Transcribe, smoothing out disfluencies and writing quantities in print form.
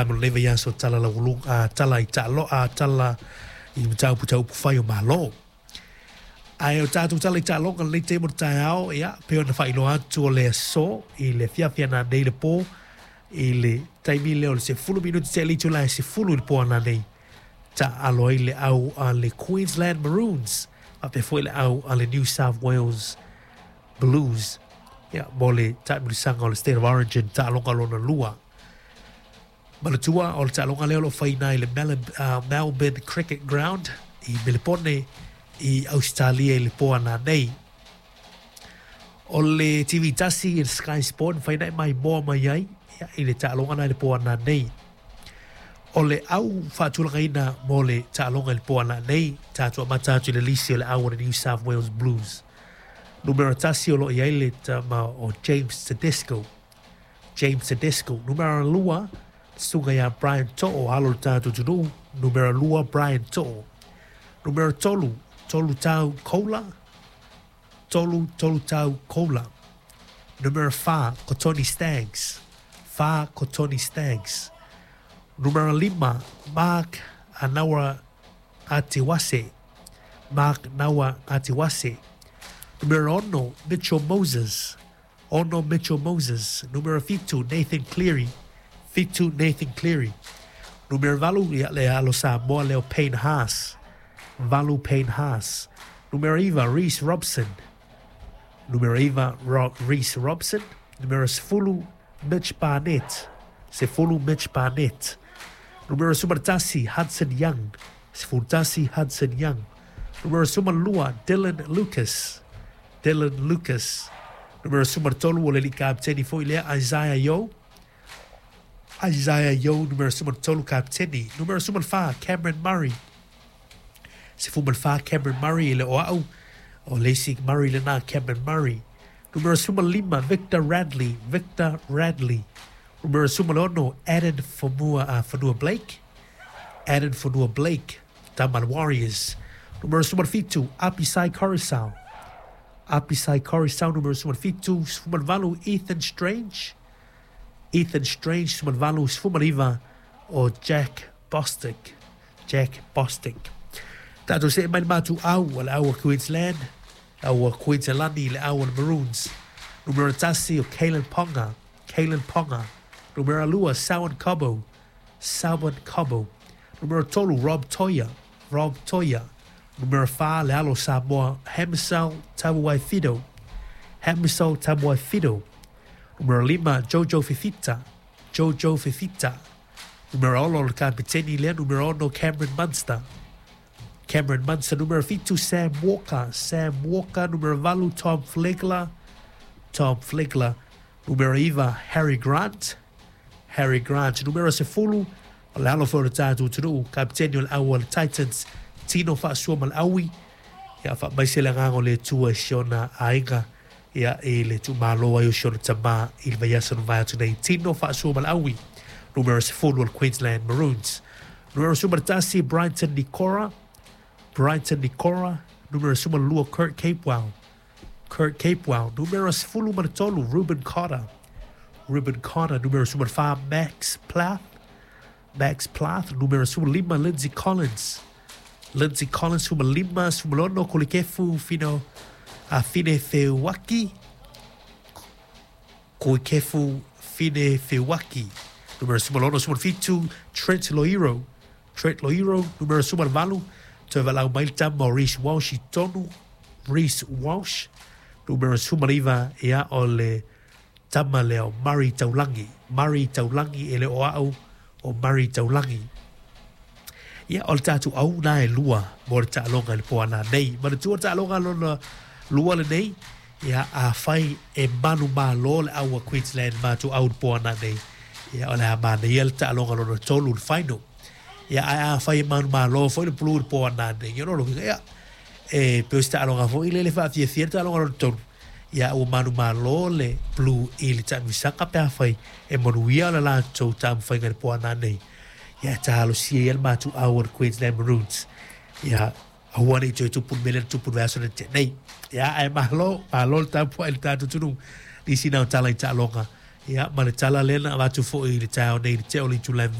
mo lenei vaiaso tala laualuga tala i taalo tala i mataupu tau upufai o Malo. Ae o tatou tala i taaloga lenei taimi o le taeao, ia, pei ona faailoa atu o le aso i le afiafi ananei le po i le taimi lea o le 10 minute tea i le itula e 10 i le po ananei, taaalo ai le au a le Queensland Maroons faapea foi le au a le New South Wales Blues, ia, mo le taamilosaga o le State of Origin taaloga lona lua. Manatua o le taaloga lea o lo o faiina i le Melbourne Cricket Ground i Melepone i Ausetalia i le po ananei. O le TV tasi i le Sky Sport e mafai ona e maimoa mai ai ia, i le taaloga na i le po ananei. O le au faatulagaina mo le taaloga i le po ananei, tatou amata atu i le lisi o le au o le New South Wales Blues. Numera tasi o lo o i ai le tama o James Tedesco. James Tedesco. Numera lua, susuga ia Brian To'o, alo o le tatou atunuu. Numera lua, Brian To'o. Numera tolu, Tolutau Koula. Tolu, Tolutau Koula. Numera fa, ko Tony Staggs. Fa, ko Tony Staggs. Numera lima, Mark Anaua Atiwase. Mark Naua Atiwase. Numera ono, Mitchell Moses. Ono Mitchell Moses. Numera fitu, Nathan Cleary. Fitu, Nathan Cleary. Numera valu, ia le alo Samoa lea o Payne Haas. Valu Payne Haas. Numera iva, Reece Robson. Numera iva, Reece Robson. Numera sefulu, Mitch Barnett. Sefulu, Mitch Barnett. Numera sumatasi, Hudson Young. Sefulu tasi, Hudson Young. Numera sumalua, Dylan Lucas. Dylan Lucas. Numera sumatolu, o le alii kapiteni foi lea, Isaiah Yo. Isaiah Yo, numera sumatolu kapiteni. Numera sumalfa, Cameron Murray. Sefumalfa, Cameron Murray, e le o au, o le isi Murray lena, Cameron Murray. Numera sumalima, Victor Radley. Victor Radley. Numera sumalono, Addin Fonua, Fonua Blake. Addin Fonua Blake, tama a le Warriors. Numera sumalfitu, Apisai Koroisau. Apisai Koroisau, numera sumalfitu. Sumalvalu, Ethan Strange. Ethan Strange, sumalvalu. Sefumaliva, o Jack Bostick. Jack Bostick. Tatou see mai le matou au, o le au a Queensland, au a Queensland, le au a le Maroons. Numera tasi o Kalen Ponga. Kalen Ponga. Numera lua, Selwyn Cobbo. Selwyn Cobbo. Numera tolu, Rob Toia. Rob Toia. Numera fa, le alo Samoa, Hamiso Tabuai-Fidow. Hamiso Tabuai-Fidow. Numera lima, Jojo Fifita. Jojo Fifita. Numera ono, le kapiteni lea, numera ono, Cameron Munster. Cameron Munster. Numera fitu, Sam Walker. Sam Walker. Numera valu, Tom Flegler. Tom Flegler. Numera iva, Harry Grant. Harry Grant. Numera sefulu, o le alo foi o le tatou atunuu, kapiteni o le au a le Titans, Tino Fa'asuamaleaui. Ia, faamaise le agaga o le Atua i si ona aiga, ia, i le tuumalo ai o si ona tamā i le vaiaso na mavae atu nei. Tino Fa'asuamaleaui, numera sefulu o le Queensland Maroons. Numera sumatasi, Brighton Nikora. Brighton Nikora. Numera sumalua, Kurt Capewell. Kurt Capewell. Numera sefulu ma le tolu, Ruben Cotter. Ruben Cotter. Numera sumalfa, Max Plath. Max Plath. Numera sumalima, Lindsay Collins. Lindsay Collins. Sumalima, sumalono, Kulikefu Fino a Fine Feuaki. Kulikefu Fine Feuaki. Numera sumalono, sumalfitu, Trent Loiro. Trent Loiro. Numera sumalvalu, toe valaau mai le tama o Reece Walsh i tonu. Reece Walsh. Numera sumaliva, ia, o le tama lea o Murray Taulangi. Murray Taulangi, e le o au o Murray Taulangi. Ia, o le tatou au na e lua mo le taaloga i le po ananei. Manatua le taaloga lona lua lenei, ia, afai e manumalo le au a Queensland matou au i le po ananei, ia, o le a manaia le taaloga lona tolu, le final. Ia, ae afai e manumalo foi le Blue i le po ananei, ia, lona uiga, ia, e pei o se taaloga foi lele faafiafia le taaloga lona tolu. Ia, ua manumalo le Blue i le taamilosaga pe afai e manuia le latou taumafaiga i le po ananei. Ia, e talosia ia le matou au a le Queensland Maroons. Ia, aua ne i toe tupu le mea lea na tupu i le vaiaso na tea nei. Ia, ae malo, malo le tapuai i le tatou atunuu. Nisi na o tala i taaloga. Ia, ma le tala lea na avatu foi i le taeao nei i le tea o le itula e 8.